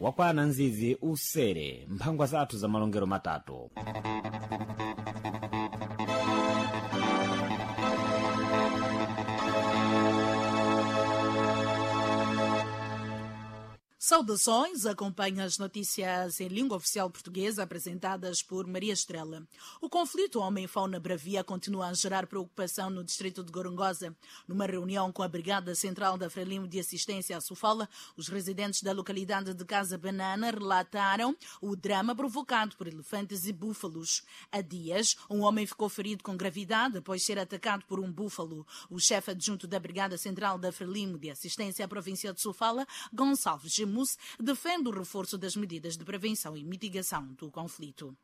Wakwana nzizi usere mphangwa zathu za malongero matatu. Saudações, acompanha as notícias em língua oficial portuguesa apresentadas por Maria Estrela. O conflito homem-fauna bravia continua a gerar preocupação no distrito de Gorongosa. Numa reunião com a Brigada Central da Frelimo de Assistência à Sofala, os residentes da localidade de Casa Banana relataram o drama provocado por elefantes e búfalos. Há dias, um homem ficou ferido com gravidade após ser atacado por um búfalo. O chefe adjunto da Brigada Central da Frelimo de Assistência à província de Sofala, Gonçalves Gemus, defende o reforço das medidas de prevenção e mitigação do conflito.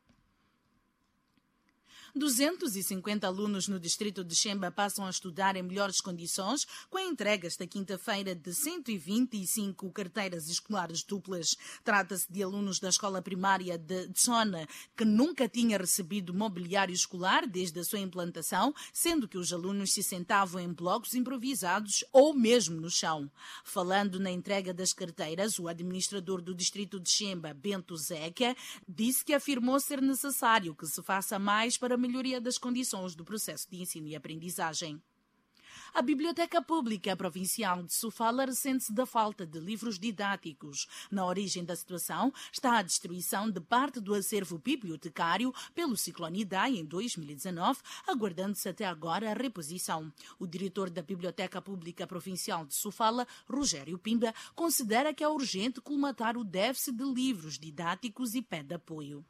250 alunos no distrito de Xemba passam a estudar em melhores condições com a entrega esta quinta-feira de 125 carteiras escolares duplas. Trata-se de alunos da escola primária de Tsona, que nunca tinha recebido mobiliário escolar desde a sua implantação, sendo que os alunos se sentavam em blocos improvisados ou mesmo no chão. Falando na entrega das carteiras, o administrador do distrito de Xemba, Bento Zeca, disse que afirmou ser necessário que se faça mais para melhoria das condições do processo de ensino e aprendizagem. A Biblioteca Pública Provincial de Sofala ressente-se da falta de livros didáticos. Na origem da situação está a destruição de parte do acervo bibliotecário pelo ciclone Idai em 2019, aguardando-se até agora a reposição. O diretor da Biblioteca Pública Provincial de Sofala, Rogério Pimba, considera que é urgente colmatar o déficit de livros didáticos e pede apoio.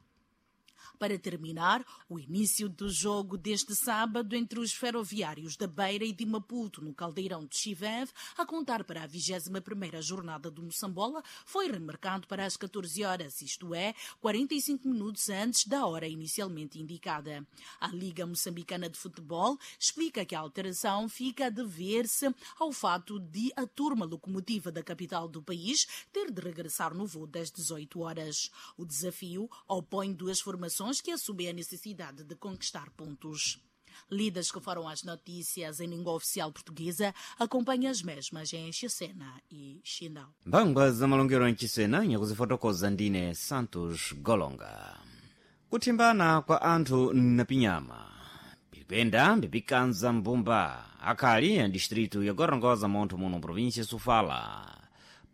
Para terminar, o início do jogo deste sábado entre os ferroviários da Beira e de Maputo, no Caldeirão de Chiveve, a contar para a 21ª jornada do Moçambola, foi remarcado para as 14 horas, isto é, 45 minutos antes da hora inicialmente indicada. A Liga Moçambicana de Futebol explica que a alteração fica a dever-se ao fato de a turma locomotiva da capital do país ter de regressar no voo das 18 horas. O desafio opõe duas formações que assumem a necessidade de conquistar pontos. Lidas que foram as notícias em língua oficial portuguesa, acompanha as mesmas em Xicena e Xindão. Mphangwa za malongero mchisena nyakuzifotokoza ndine Santos Golonga. Kuthimbana kwa anthu na pinyama bipenda bipikanza mbumba akhali ya distritu ya Gorongosa montho muno província Sofala.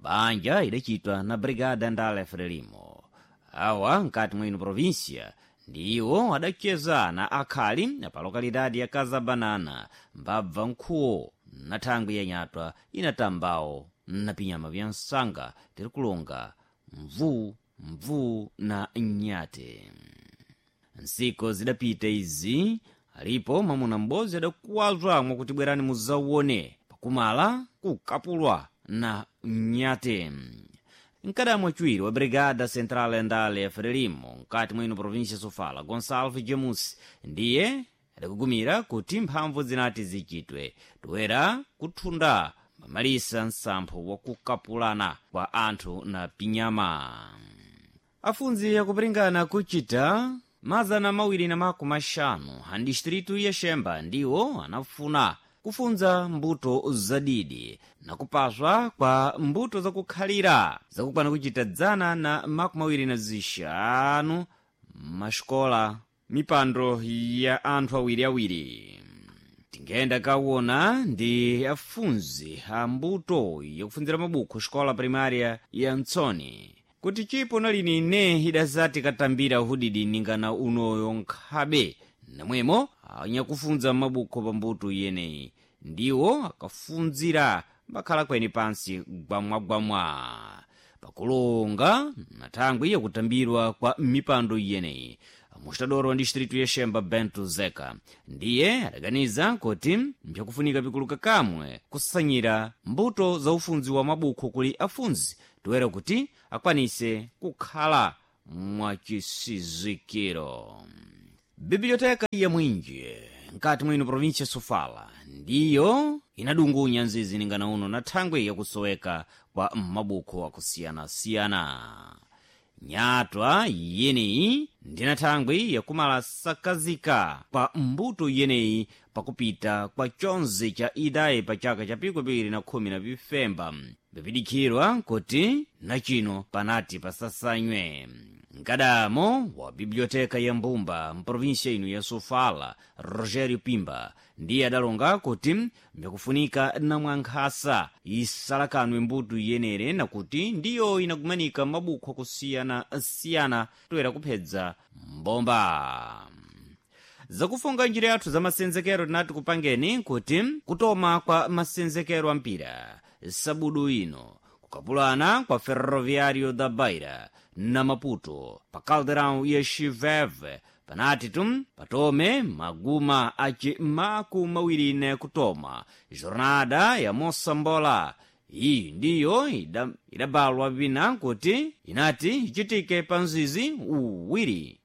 Banja idacitwa na Brigada Ndale Frelimo. Awa nkati mwino província ndiwo adacheza na akhali pa lokalidade ya Casa Banana mbabva nkhuwo na thangwi ya nyatwa inatambawo na pinyama vya msanga tiri kulonga mvuu mvuu na nyate. Nsiku zidapita izi alipo mwamuna m'bodzi adakuwazwa mwakuti bwerani muzauone pakumala kukapulwa na nyate. Mkadamwa chiwiri wa Brigada Central ya Ndale ya Frelimo mkati mwino província Sofala, Gonçalves Jamus, ndiye adakugumira kuti mphamvu zinati zichitwe toera kuthunda mamalisa msampho wakukapulana kwa anthu na pinyama. Afunzi akupiringana kuchita 250 a distritu ya Xemba ndiwo anafuna kufunza mbuto zadidi nakupaswa kwa mbuto zakukhalira zakukwana kuchita 125 maxikola mipando ya anthu awiriawiri. Tingenda kawona ndi afunzi a mbuto yakufunzira mabukhu xikola primária ya Ntsoni kuti chipo nalini ine idazati katambira uhudidi ningana unoyo nkhabe namwemo anyakufunza mabukho pa mbuto iyeneyi ndiwo akafunzira mbakhala kweni pansi gwamwagwamwa pakulonga na thangwi yakutambirwa kwa mipando iyeneyi. Mustadoro wa distritu ya Xemba Bento Zeka ndiye adaganiza kuti mpyakufunika pikuluka kamwe kusanyira mbuto za ufunzi wa mabukho kuli afunzi toera kuti akwanise kukhala mwachisizikiro. Biblioteka ya Mwinje nkati mwino província Sofala ndiyo inadungunya nzizi ningana uno na thangwi yakusoweka kwa mabukho akusiyana-siyana. Nyatwa yeneyi ndina thangwi yakumala sakazika pa mbuto yeneyi pakupita kwa chonse cha idayi pa chaka cha 2015. Bipidikirwa kuti nachino panati pasasanywe. Mkadamo wa biblioteka ya Mbumba mprovinsia ino ya Sofala, Rogério Pimba, ndiye adalonga kuti mbikufunika namwankhasa isalakanwe mbuto iyenere nakuti ndiyo inagumanika mabukho akusiyana-siyana toera kuphedza mbomba. Zakufunga njira yathu za masenzekero tinati kupangeni kuti kutoma kwa masenzekero ampira sabudu ino kukapulana kwa Ferroviário da Beira na Maputo pa Caldeirão ya Chiveve panati tum patome maguma aci 24 kutoma jornada ya Mosambola. Iyi ndiyo idabalwa vina kuti inati ichitike pa mzizi uwiri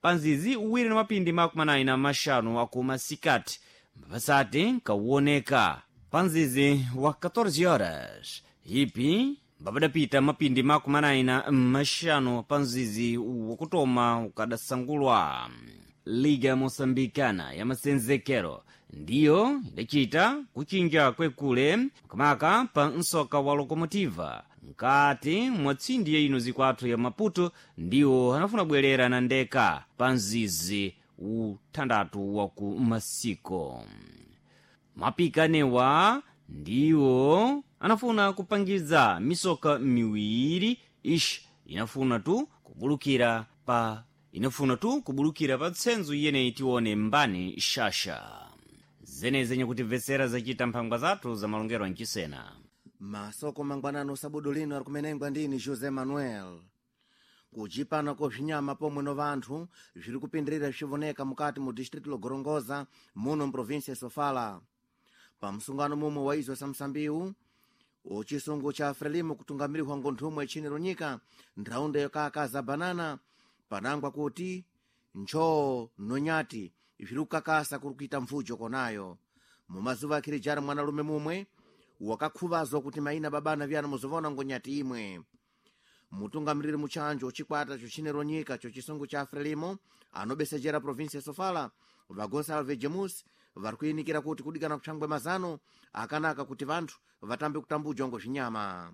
na mapindi 45 akumasikati mpasati nkauoneka pa mzizi wa 14 horas ipi mbapadapita mapindi 45 pa mzizi wakutoma ukadasangulwa. Liga Moçambicana ya masenzekero ndiyo idacita kuchinja kwekule kamaka pa msoka wa Locomotiva nkati mwa tsindi ya ino zikwathu ya Maputo ndiwo anafuna bwerera na ndeka pa mzizi uthandathu wa ku masiko. Mapikanewa ndiwo anafuna kupangiza misoka miwiri ishi inafuna tu kubulukira pa tsenzo iyeneyi tione mbani shasha zeneze nyakutimvetsera zacita mphangwa zathu za malongero ancisena. Masoko mangwanano sabudu lino ari kumenengwa ndini José Manuel. Kuchipana kwa bzinyama pomwe no vanthu zviri kupindirira zvivoneka mukati mu distrito lo Gorongosa muno mprovinsia ya Sofala. Pa msungano mumwe wa izo samsambiwu uchisungu cha Frelimo kutungamirihwa ngonthumwe tchini lonyika nthraunda yokaka banana panangwa kuti nchoo nonyati zviri kukakasa kuri kuita mvujo konayo. Mumazuva akhirijari mwanalume mumwe wakakhuvazwa kuti maina babana vyana muzovona ngonyati imwe. Mutungamiriri muchanjo chikwata chochinero nyika chochisungu cha Frelimo anobesejera provinsi ya Sofala va Gonçalves Jamus vari kuinikira kuti kudikana kutshangwe mazano akanaka kuti vanthu vatambe kutambujwa ngo zvinyama.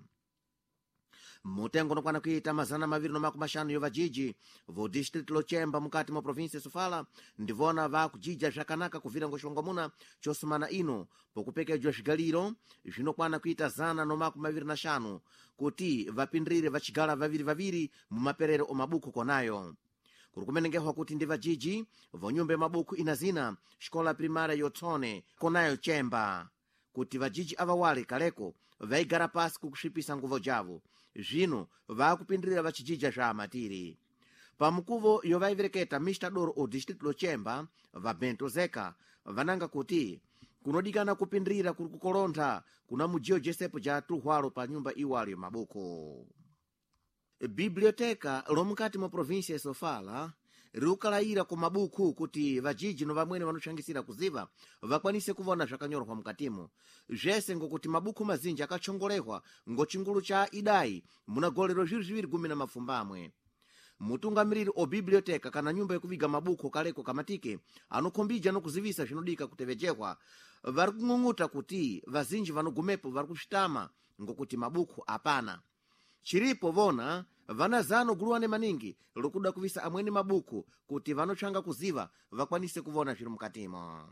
Mutengo unokwana kuita 250 yo vajiji vo distrito lochemba mukati mwa provinsi ya Sofala ndivona vakujija zvakanaka kuvira ngo xilongomuna chosumana ino pokupekejwa zvigaliro zvinokwana kuita 125 kuti vapindirire vachigala vaviri vaviri mumaperero omabuku konayo. Kuri kumenengehwa kuti ndi vajiji vonyumba ya mabuku ina zina xikola primária yotsone konayo Chemba kuti vajiji avawale kaleko vaigara pasi kukusvipisa nguvo javo zvino vaakupindirira vachijija zva amatiri. Pamukuvo yovaivereketa Mr Doro o distrito lochemba va Bento Zeka vananga kuti kunodikana kupindirira kuri kukolontha kuna mujiyo jesepo ja tuhwalo pa nyumba iwalo ya mabuku. Biblioteka lomukati mwa provinsia ya Sofala riukalayira ku mabuku kuti vajiji no vamwene vanotsangisira kuziva vakwanise kuvona zvakanyorwa mukatimo zvese ngokuti mabuku mazinji akachongolehwa ngo chingulu cha idai muna golero 2017. Mutungamiriri o biblioteka kana nyumba yakuviga mabuku kaleko kamatike anokhombija nokuzivisa zvinodika kutevejehwa vari kung'ung'uta kuti vazinji vanogumepo vari kusvitama ngokuti mabuku apana. Chiripo vona vana zano guluwane maningi lokuda kuvisa amweni mabuku kuti vanotsvanga kuziva vakwanise kuvona zviri mukatimo.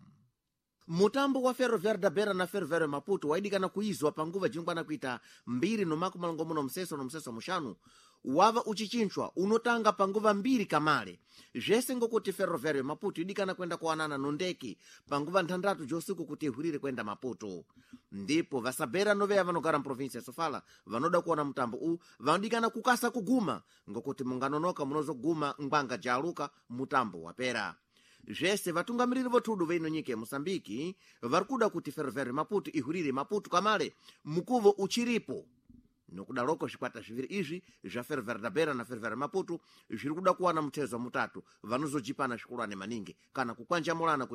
Mutambo wa Ferroviário da Beira na Ferroviário Maputo waidikana kuizwa panguva jingwana kuita 2:65 no 5 wava uchichinchwa unotanga panguva 2 kamale zvese ngokuti Ferroviário Maputo idikana kwenda kuwanana nondeki panguva 6 josiku kuti ihwirire kwenda Maputo. Ndipo vasabera noveya vanogara muprovinsi ya Sofala vanoda kuona mutambo u vanodikana kukasa kuguma ngokuti munganonoka munozoguma ngwanga jaluka mutambo wapera. Zvese vatungamiriri vothudu veino nyika ya Moçambike vari kuda kuti Ferroviário Maputo ihwirire Maputo kamale mukuvo uchiripo. Nokudaloko zvikwata zviviri izvi zva Ferroviário da Beira na Ferroviário Maputo zviri kuda kuwana mutezo mutatu vanozojipana zvikulwane maningi kana kukwanjamulana kuti